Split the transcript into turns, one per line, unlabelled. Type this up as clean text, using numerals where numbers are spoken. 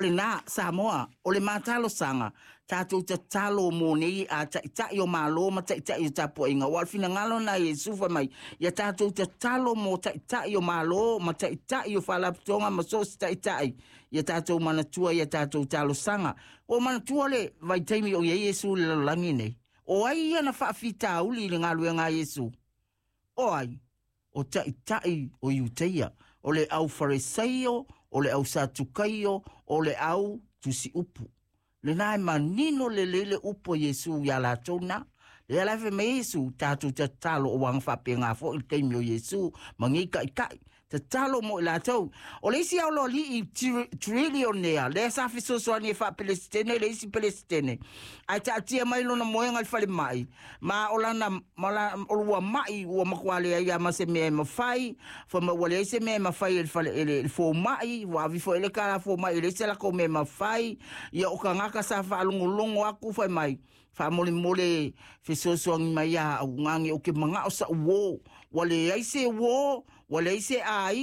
Lena, Samoa, o le ma talosaga, tatou tatalo mo nei a ta'ita'i o Malo ma ta'ita'i o tapuaiga. Ua o le finagalo na Iesu fai mai, ia tatou tatalo mo ta'ita'i o Malo ma ta'ita'i o faalapotopotoga ma so o se ta'ita'i, ia tatou manatua ia tatou talosaga. Ua manatua le vaitaimi o i ai Iesu i le lalolagi nei? O ai ia na faafitauli i le galuega a Iesu? O ai? O ta'ita'i o Iutaia, o le au Faresaio, o le au Satukaio, o le au tusiupu. Lena e manino lelei le upu a Iesu iā latou na. Lea la e fai mai ai Iesu, tatou tatalo o aga faapena foi le taimi o Iesu ma nei ta'ita'i. Tatalo mo i latou. O le isi aloalii trilionea, lea sa fesoasoani e faapelesitene le isi pelesitene, ae taatia mai lona moega i le falemai, ma o lana, ma la, o ua ma'i ua matua leai lava ma se mea e mafai, fai mai ua leai se mea e mafai e le fale, e le, le fomai, ua ave foi le tala fomai e leai se latou mea e mafai. Ia o tagata sa faalogologo atu fai mai, faamolemole fesoasoani mai iā au, nani ou te manao sa'u uō, ua leai se uō, ua leai se aiga.